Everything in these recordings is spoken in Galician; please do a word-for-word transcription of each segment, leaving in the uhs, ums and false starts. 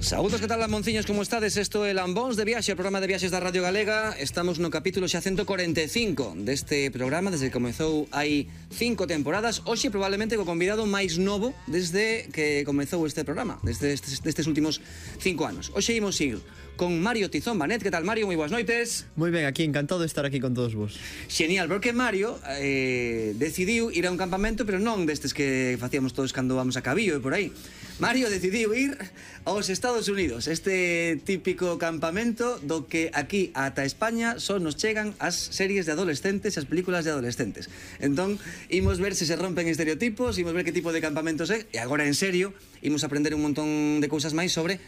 Saúdos, que tal, Lamonciños, como estades? Isto é Lambóns de Viaxe, o programa de viaxes da Radio Galega. Estamos no capítulo xa ciento cuarenta e cinco deste programa, desde que comezou hai cinco temporadas. Hoxe probablemente co convidado máis novo desde que comezou este programa, desde estes, destes últimos cinco anos. Hoxe imos ir con Mario Tizón Banet. Que tal, Mario? Moi boas noites. Moi ben, aquí, encantado de estar aquí con todos vos. Genial, porque Mario eh, decidiu ir a un campamento, pero non destes que facíamos todos cando vamos a Cabillo e por aí. Mario decidiu ir aos Estados Unidos, este típico campamento do que aquí ata España só nos chegan as series de adolescentes e as películas de adolescentes. Entón, imos ver se se rompen estereotipos, imos ver que tipo de campamentos é, e agora en serio, imos aprender un montón de cousas máis sobre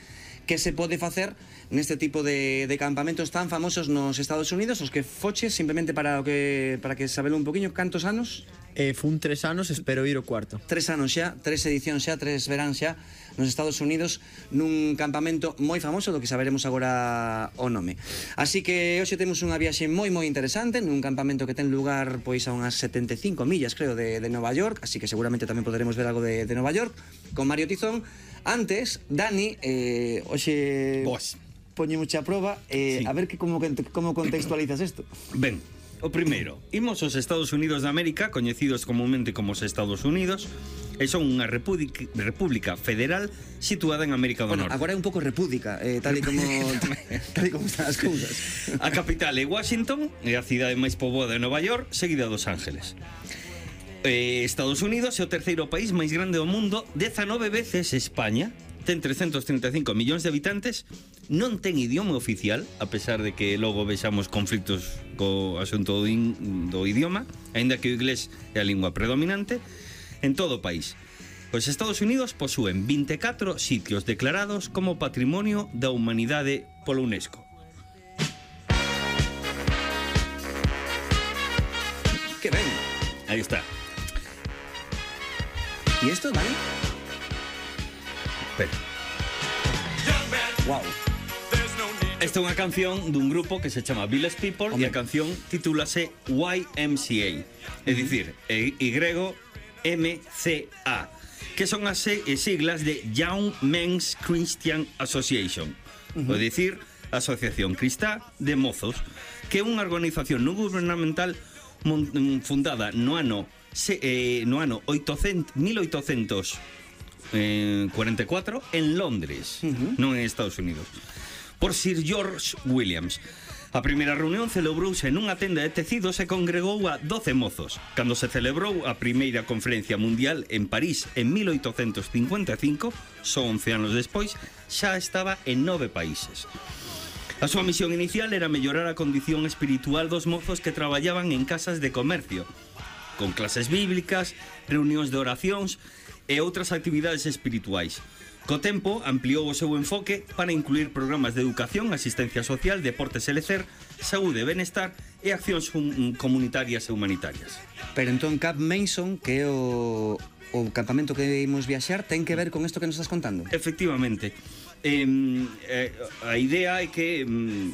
que se pode facer neste tipo de, de campamentos tan famosos nos Estados Unidos, os que foches simplemente para o que para que sabelo un poquinho. Cantos anos? Eh, fun tres anos, espero ir o cuarto. Tres anos xa, tres edicións xa, tres verán xa nos Estados Unidos nun campamento moi famoso do que saberemos agora o nome. Así que hoxe temos unha viaxe moi moi interesante nun campamento que ten lugar pois a unhas setenta e cinco millas, creo, de, de Nova York, así que seguramente tamén poderemos ver algo de, de Nova York con Mario Tizón. Antes, Dani, eh, hoxe Boas. poñemos a proba, eh, sí. A ver que como, como contextualizas isto. Ben, o primeiro, imos aos Estados Unidos de América, coñecidos comúnmente como os Estados Unidos, e son unha república, república federal situada en América do Bueno, Norte. agora é un pouco república, eh, tal e como tal e como están as cousas. A capital é Washington, é a cidade máis poboada de Nova York, seguida dos Ángeles. Eh, Estados Unidos é o terceiro país máis grande do mundo, dezanove veces España, ten trescentos trinta e cinco millóns de habitantes, non ten idioma oficial, a pesar de que logo vexamos conflitos co asunto do, in, do idioma, aínda que o inglés é a lingua predominante en todo o país. Os Estados Unidos posúen vinte e catro sitios declarados como Patrimonio da Humanidade pola UNESCO. Que ben. Aí está. E isto, Dani? Pero Wow. esta é unha canción dun grupo que se chama Village People. Hombre. E a canción titúlase Y M C A, é dicir, Y M C A, que son as siglas de Young Men's Christian Association, uh-huh. É dicir, Asociación Cristá de Mozos, que é unha organización non gubernamental fundada no ano Se, eh, no ano mil oitocentos cuarenta e catro en Londres, uh-huh. Non en Estados Unidos, por Sir George Williams. A primeira reunión celebrouse nunha tenda de tecidos e congregou a doce mozos. Cando se celebrou a primeira conferencia mundial en París en mil oitocentos cincuenta e cinco, só once anos despois, xa estaba en nove países. A súa misión inicial era mellorar a condición espiritual dos mozos que traballaban en casas de comercio, con clases bíblicas, reunións de oracións e outras actividades espirituais. Co tempo, ampliou o seu enfoque para incluir programas de educación, asistencia social, deportes e lecer, saúde e benestar e accións comunitarias e humanitarias. Pero entón Cap Mason, que é o, o campamento que imos viaxar, ten que ver con isto que nos estás contando? Efectivamente. Eh, eh, a idea é que... Eh,